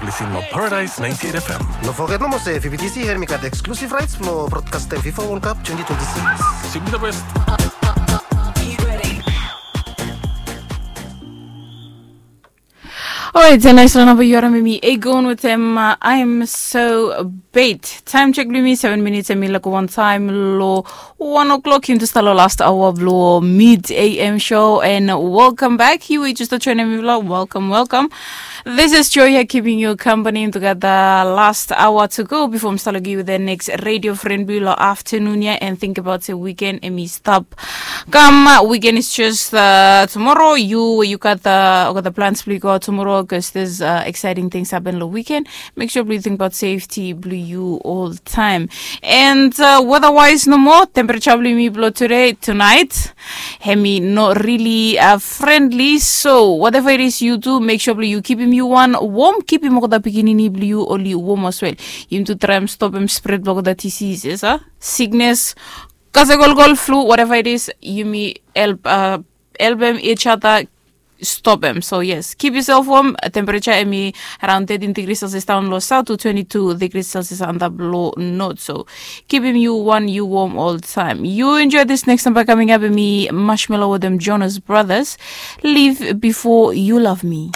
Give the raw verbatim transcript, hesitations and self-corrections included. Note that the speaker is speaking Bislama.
Lisin long Paradise ninety-eight F M. No foget nomo se V B T C hemi gat exclusive rights blong broadcastem FIFA World Cup twenty twenty-six. Simply the best. Orait, nais long namba yu harim mi Aegon wetem uh, I'm so bait. Taem jek blong mi seven minutes hemi laik wan taem long one o'clock. Yumi tu stap long last hour blong mid A M show and welcome back. Yu we yu tu stap joinim mi blong welcome, welcome. This is Joy here keeping you company. Yumi tu gat the last hour to go before mi stap long yu the next radio friend blong afternoon here and think about se weekend hemi stap kam. Weekend is just uh, tomorrow. Yu we yu gat the, yu gat the plans blong yu go out tomorrow because there's uh, exciting things happen long weekend. Make sure blong yu think about safety blong yu all time. And uh, weather wise nomo, temperature blong mi blong today, tonight, hemi no really uh, friendly. So whatever it is you do, make sure blong yu kipim yu wan warm, kipim olgeta pikinini blong yu oli warm as well. Yumi tu traem stopim spread blong olgeta diseases, uh, sickness, kasagolgol, flu, whatever it is, yumi help uh, helpim each other stopim. So yes, keep yourself warm. Temperature hemi around thirteen degrees Celsius down long south to twenty-two degrees Celsius antap long north. So kipim yu wan yu warm all time. You enjoy this next number coming up. Hemi Marshmello wetem Jonas Brothers. Live before you love me.